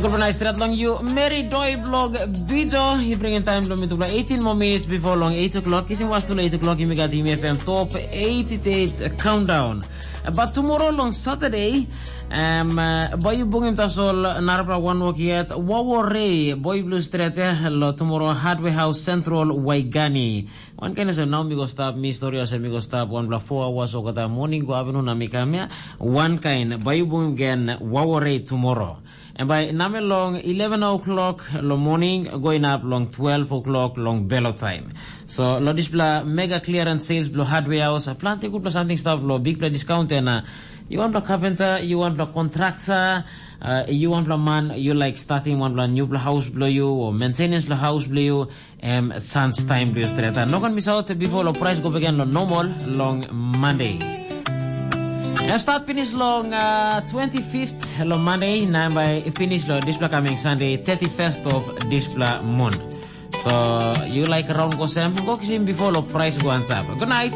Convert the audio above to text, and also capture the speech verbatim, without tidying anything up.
Gulpa nai stret long you, Mary Doi blog Bijo. He bringing time long me to play eighteen more minutes before long eight o'clock. Kisim was to eight o'clock, you got him F M top eighty-eight countdown. But tomorrow long Saturday, um, uh, boy you bung him tasol narapla one walk yet. Wawo Ray, boy blue stret eh, lo tomorrow Hardware House Central Waigani. Wan kain olsem nau mi go stap mi stori olsem mi go stap wanpela four hours olgeta moning go avenue na mi kam ya. Wan kain bai yu bungim gen wawarei tumoro. En bai namel long eleven o'clock long moning go inap long twelve o'clock long belo taim. So lo dispela mega clearance sales bilong hardware house planti gutpela samting stap lo bigpela discount en uh, you wanpela carpenter, you wanpela contractor, uh, you wanpela man you like starting wanpela newpela house bilong you or maintenance lo house bilong you, em chance time bilong stret. No kan miss out before lo price go begin lo normal long Monday. Em start finish long uh, twenty-fifth lo Monday, na em bai finish lo dispela coming Sunday, thirty-first of dispela month. So you like around go sem, go kisim before lo price go on top. Good night.